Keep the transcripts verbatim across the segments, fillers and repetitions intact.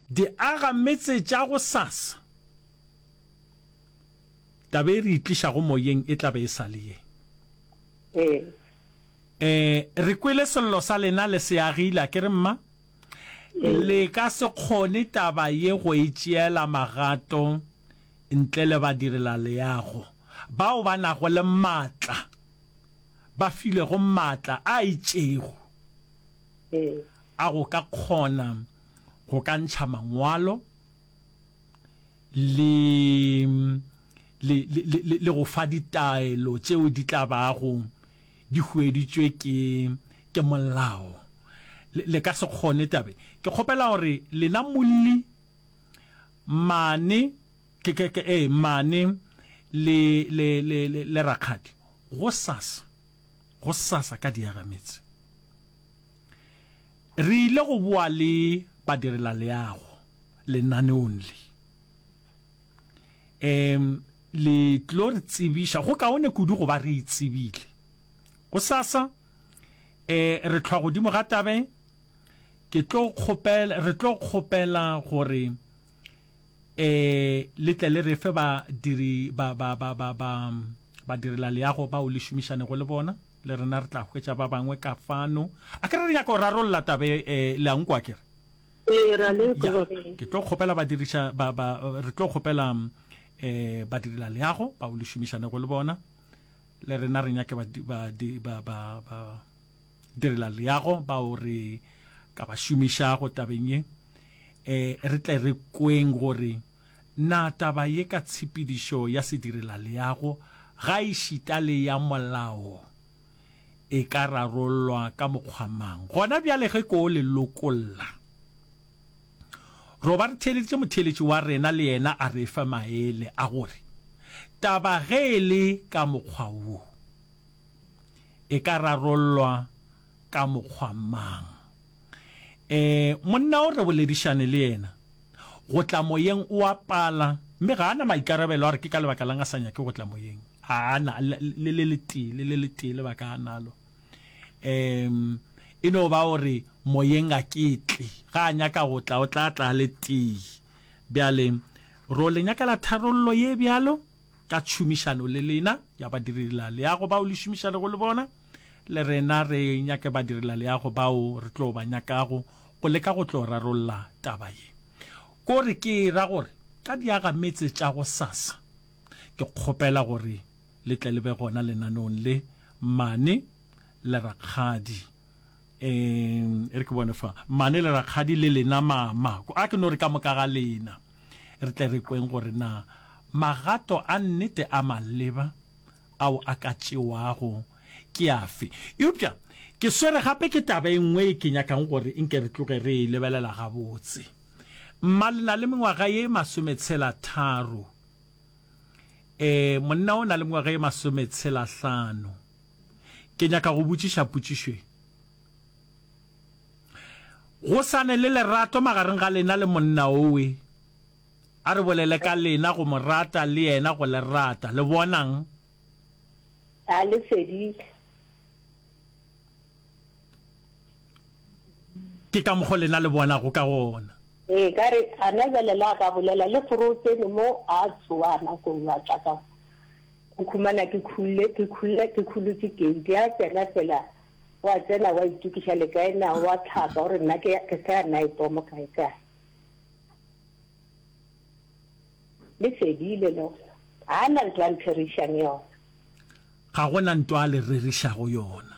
Diagametse tša gosasa, taba e re e tlišago moyeng e tla be e sa le ye. Ee. E, re kwele sello sa lena le se agile, a ke re mma? Le ka se kgone taba ye go e tšeela magato ntle le badirelaleago bao ba nago le maatla, ba filwego maatla a itšego a go ka kgona go ka ntšha mangwalo le, le, le, le, le go fa ditaelo tšeo di tla bago di hueditšwe ke, ke molao. Le, le ka se kgone tabe. Ke kgopela gore lena molli mane, ke, ke, ke, ee, mane le, le, le, le, le rakgadi, gosasa, gosasa ka diagametse, re ile go boa le badirelaleago lenaneong le. Um, le tlo re tsebiša, go kaone kudu go ba re e tsebile. Gosasa, eh, re hlwa godimo ga tabe, ke tlo kgopela, re tlo kgopela gore, eh, le tle le re fe badiri, ba, ba, ba, ba, ba, badirelaleago bao le šomišanego le bona, le rena re tla hwetša ba bangwe ka fano. A ke re re nyaka go rarolla tabe, eh, le a nkwa ke re? Ee, ra le Ya, kwa. ke tlo kgopela badiriša, ba, ba, re tlo kgopela, eh, badirelaleago bao le šomišanego le bona, le rena re nyake ba, ba, ba, ba, ba direlaleago bao re ka ba šomišago tabeng ye, eh, re tle re kweng gore na taba ye ka tshepedišo ya sedirelaleago ga e šita le ya molao e ka rarollwa ka mokgwa mang. Gona bjale ge ko le lokolla, ro ba re theeleditše motheeletši wa rena le yena a re fe maele a gore taba ge e le ka mokgwa wo e ka rarollwa ka mokgwa mang. E, monna o re boledišane le yena go tla moyeng o a pala, mme ga a na maikarabelo a re ke ka lebaka lang a sa nyake go tla moyeng. A na le le letee, le le letee lebaka a nalo. Um, e no ba gore moyeng a ke tle, ga a nyaka go tla o tla tla le tee. Bjale ro le nyakela tharollo ye bjalo ka tšhomišano le lena ya badirelaleago bao le šomišanego le bona, le rena re nyake badirelaleago bao re tlo ba nyakago go leka go tlo rarolla taba ye. Ko re ke ra gore ka diagametse tša go sasa, ke kgopela gore le tle le be gona lenaneong le mane le rakgadi. Um, e re ke bone fa mane le rakgadi le lena mama, a ke no re ka moka ga lena, re tle re kweng gore na magato a nnete a maleba ao a ka tšewago ke afe. Eupša ke swere gape ke taba e nngwe e ke nyakang gore nke re tloge re e lebelela gabotse. Mma le na le mengwaga ye masometshela tharo, e, monna o na le mengwaga ye masometshela hlano. Ke nyaka go botšiša potšišo e. Go sane le lerato magareng ga lena le monna owe, a re bolele ka lena go mo rata le yena go le rata, le bonang? A le fedile. Ke ka mokgo lena le bonago ka gona. Ee, ka re a na bjale le a ka bolela le gore o tsene mo a tsoa nakong a tla ka go khumana ke khulle ke khulle ke khulotše gate a tsena fela wa tsena wa itokiša le kae na wa tlhapa gore nna ke ke sa ya night mo kae kae. Le fedile le gona. A na ntwa ntherišang yona. Ga gona ntwa a le rerišago yona.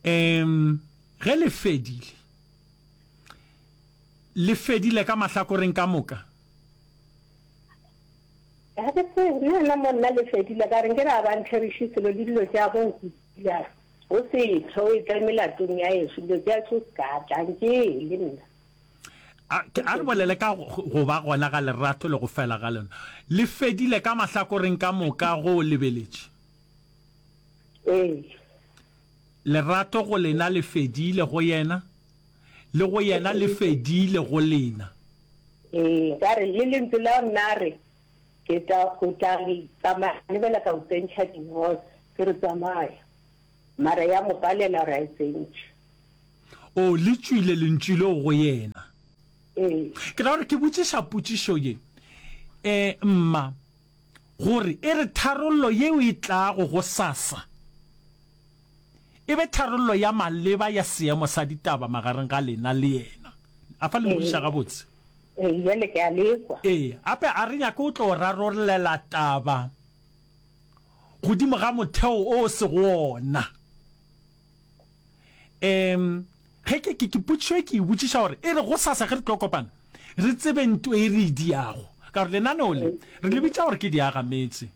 Um, ge le fedile, le fedile ka mahlakoreng ka moka? Ga ke tsebe, nna nna mo nna le fedile ka re nke re a ba ntheriše selo le dilo tša go nkutile. O se tho e tla melatong ya ešo, dilo tša ešo se ka tla nke le nna. A, ke, a re bolele ka go, go ba gona ga lerato le go fela ga lona. Le fedile ka mahlakoreng ka moka go lebeletše. Ee. Lerato go lena le fedile go yena, le go yena le fedile go lena. Ee, ka re le lentswe la nna re ke tla go tla tsamaya lebela ka o tsentšha divorce, ke re tsamaya. Mara ya mo palela gore a e tsentšhe. O, le tšwile lentšu leo go yena. Ee. Ke ra gore ke botšiša potšišo ye, eh, mma, gore e re tharollo yeo e tlago gosasa e be tharollo ya maleba ya seemo sa ditaba magareng ga lena le yena. A fa le nkwešiša gabotse? Ee, bjale ke a le kwa. Ee, gape a re nyake o tlo rarollela taba godimo ga motheo o o sego wona. Um, ge ke, ke, ke potšišo e ke e botšiša gore e re gosasa ge re tlo kopana, re tsebe nto e re e diago. Ka gore lenaneo le, re le bitša gore ke diagametse.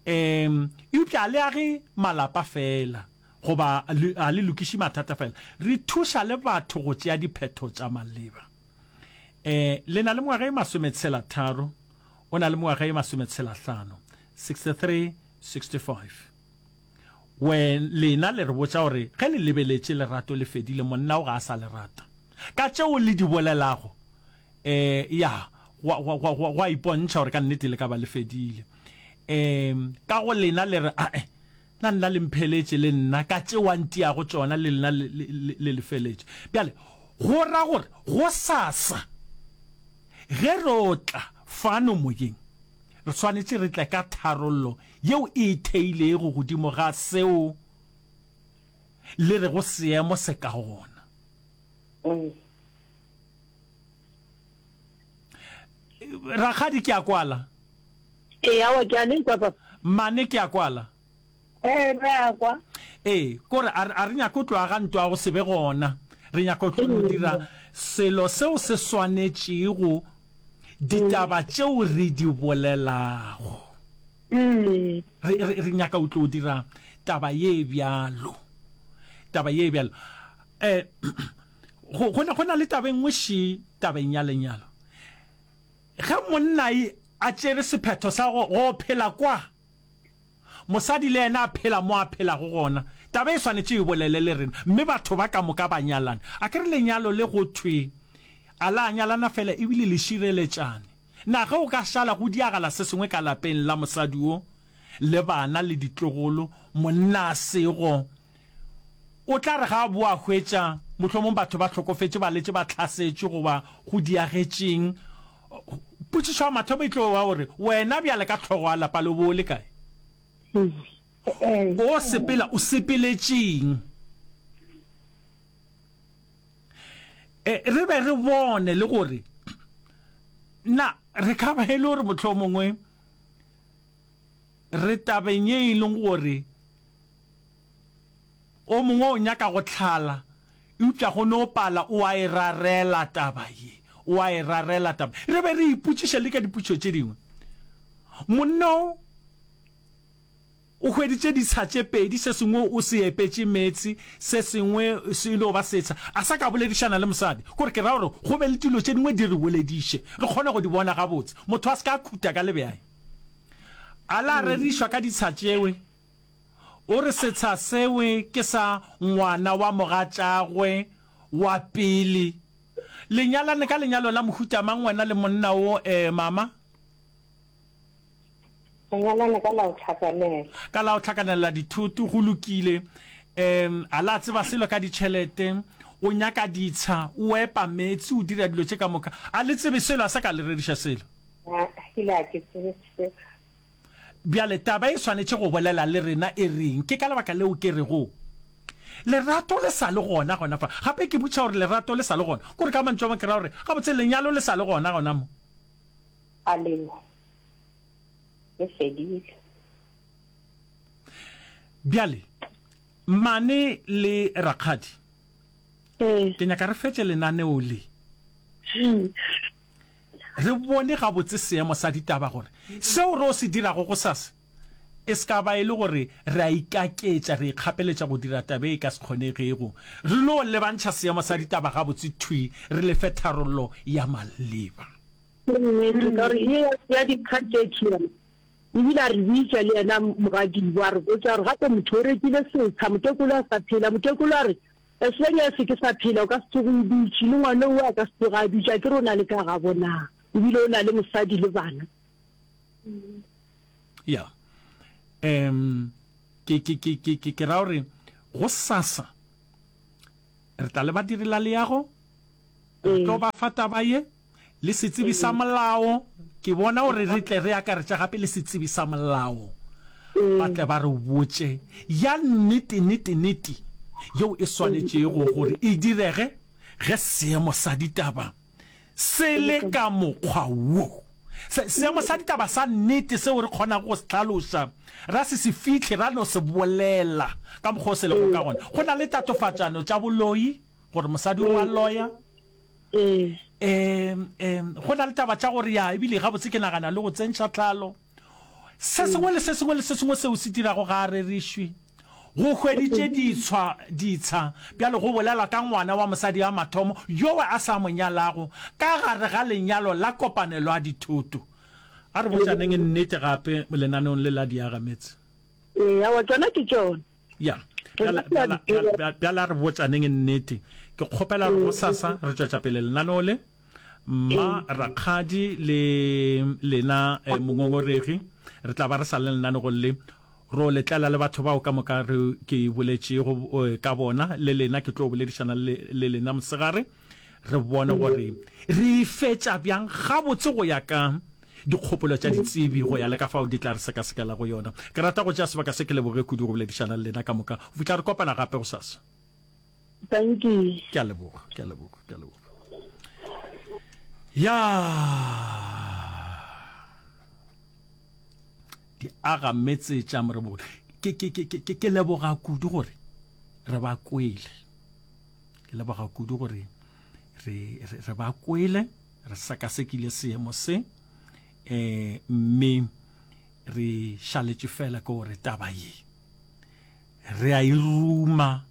Um, eupša a le age malapa feela, goba a le lokiše mathata feela. Re thuša le batho go tšea diphetho tša maleba. Um, le na le mengwaga e masometshela tharo, o na le mengwaga e masometshela hlano, sixty-three, sixty-five. We, lena le re botša gore ge le lebeletše lerato le fedile, monna o ga a sa le rata. Ka tšeo le di bolelago, um, ya, gwa, gwa, gwa, gwa, gwa ipontšha gore ka nnete le ka ba le fedile. Um, ka go lena le re, Ae, na nna le mpheletše le nna, ka tšeo a ntiago tšona le lena le, le, le, le lefeletše. Bjale, go ra gore gosasa ge ro tla fano moyeng, re swanetše re tle ka tharollo yeo e theilego godimo ga seo le rego seemo se ka gona. Rakgadi, ke a kwala. Ee, aowa, ke a le kwa, papa. Mmane, ke a kwala. Ee, re a kwa. Ee, kore a, a re nyake go tlo aga ntwa go se be gona. Re nyaka go tlo no dira selo seo se swanetšego ditaba tšeo re di bolelago. Re, re, re nyaka go tlo dira taba ye bjalo. Taba ye bjalo. Eh, go, go na, go na le taba e nngwe še tabeng ya lenyalo. Ge monna a tšere sephetho sa go, go phela kwa, mosadi le yena a phela mo a phelago gona, taba e swanetše e bolele le rena, mme batho ba ka moka ba nyalane. A ke re lenyalo le go thwe a la nyalana fela ebile le šireletšane. Na ge o ka šala go diagala se sengwe ka lapeng la mosadi wo, le bana le ditlogolo, monna a sego, o tla re ga a boa hwetša mohlomong batho ba hlokofetše, ba letše ba hlasetšwe goba go diagetšeng, potšišo ya mathomo e tlo ba gore wena bjale ka hlogo ya lapa le o bo o le kae? O sepela o sepeletšeng? E, re be re bone le gore na re ka ba e le gore mohlomongwe re tabeng ye e leng gore o mongwe o nyaka go hlala, eupša go no pala o a e rarela taba ye, o a e rarela taba. Re be re ipotšiše le ka dipotšišo tše dingwe. Monna o o hweditše ditsha tše pedi, se sengwe o se epetše meetse, se sengwe se no ba setsha, a sa ka boledišana le mosadi. Kore ke ra gore go be le dilo tše dingwe di re bolediše, re kgone go di bona gabotse. Motho a se ka khuta ka lebjae. A la rerišwa ka ditsha tšewe. O re setsha sewe ke sa ngwana wa mogatšagwe wa pele. Le nyalane ka lenyalo la mohuta mang wena le monna wo, eh, mama? Re nyalane ka la go hlakanela. Ka la go hlakanela dithoto, go lokile. Um, a la tseba selo ka ditšhelete, o nyaka ditsha, o epa meetse, o dira dilo tše ka moka. A le tsebe selo, a sa ka le reriša selo. A, ile a ke tsebe selo. Bjale taba e swanetše go bolela le rena e reng? Ke ka lebaka leo ke rego lerato le sa le gona gona fa. Gape ke botša gore lerato le sa le gona. Kore ka mantšu a mangwe ke ra gore gabotse lenyalo le sa le gona gona mo. A leo le fedile. Bjale, mmane le rakgadi, ke nyaka re fetše lenaneo le. Re bone gabotse seemo sa ditaba gore seo re o se dirago gosasa e se ka ba e le gore re a ikaketša, re ikgapeletša go dira taba e ka se kgonegego. Re no lebantšha seemo sa ditaba gabotse thwi, re le fe tharollo ya maleba. Ke nnete, ka gore ye ya dikgatšetši yona ebile a re bitša le yena mogadibo a re botša gore gape motho o rekile setsha, motekolo a sa phela. Motekolo a re, As long as ke sa phela o ka se tsoge o dutše, le ngwana owe a ka se tsoge a dutše, a ke re o na le ka gabo na? Ebile o na le mosadi le bana. Ya. Um, ke, ke, ke, ke, ke, ke ra gore gosasa re tla le badirela leago, Re tlo ba fa taba ye le setsebi sa molao. Ke bona gore re tle re akaretša gape le setsebi sa molao, ba tle ba re botše ya nnete nete nete yeo e swanetšego gore e direge ge seemo sa ditaba se le ka mokgwa wo. Se, seemo sa ditaba sa nnete seo re kgonago go se hlaloša, ra se se fihle, ra no se bolela ka mokgwa o se lego ka gona. Go na le tatofatšano tša boloi, gore mosadi o a loya. Um, um, go na le taba tša gore ya, ebile gabotse ke nagana le go tsentšha tlhalo. Se sengwe le se sengwe le se sengwe seo se dirago ga a rerišwe. Go hweditše ditshwa, ditsha, bjale go bolelwa ka ngwana wa mosadi ya mathomo yowe a sa mo nyalago ka gare ga lenyalo la kopanelo ya dithoto. A re botšaneng nnete gape lenaneong le la Diagametse. Ee, aowa, tšona ke tšona. Ya, bjale, bjale, bjale, bjale a re botšaneng nnete. Ke kgopela gore gosasa re tšwetša pele lenaneo le. Mma, rakgadi le lena eh, mongongoregi, re tla ba re sa le lenanegong le. Ro le tlela le batho bao ka moka re ke boletšego eh, ka bona, le lena ke tlo boledišana le, le lena mosegare, re bone gore re e fetša bjang gabotse go ya ka dikgopolo tša ditsebi, go ya le ka fao di tla re sekasekela go yona. Ke rata go tšea sebaka se ke leboge kudu go boledišana le lena ka moka. Go fihla re kopana gape gosasa. Thank you. Ke a leboga, ke a leboga, ke a leboga. Ya di aga metse tša morebogolo. Ke, ke, ke, ke, ke leboga kudu gore re ba kwele. Ke leboga kudu gore re, re, re ba kwele, re sekasekile seemo se, eh, mme re šaletše fela ke gore taba ye re a e ruma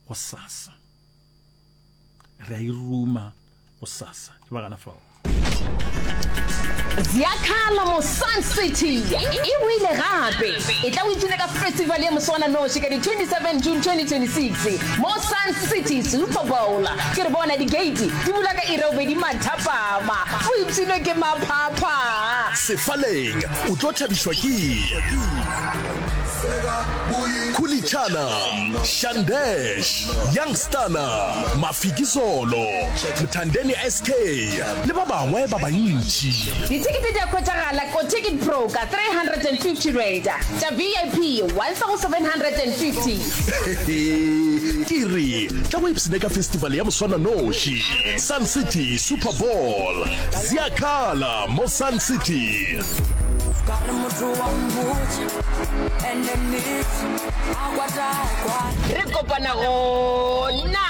gosasa. Re a e ruma gosasa. Ke ba gana fao. Ziyakhala mo Sun City e boile gape. E tla o ipshine ka festival ye moswananoši ka di twenty seven June twenty twenty-six mo Sun City Super Bowl. Ke re bona di-gate di bula ka iri ya bobedi mathapama. O ipshinwe ke maphapha. Sefaleng o tlo thabišwa ke Khulichana, Shandesh, Youngstana, Mafikizolo, Mthandeni S K le ba bangwe ba bantši. Dithekete di a hwetšagala ko Ticket Pro ka three hundred and fifty rand, tša V I P one thousand seven hundred and fifty. Ke re tla go ipshine ka festival ya moswananoši Sun City Super Bowl. Ziyakhala mo Sun City. Ka re motho wa mmotša ene nnete a kwata kwa. Re kopana gona.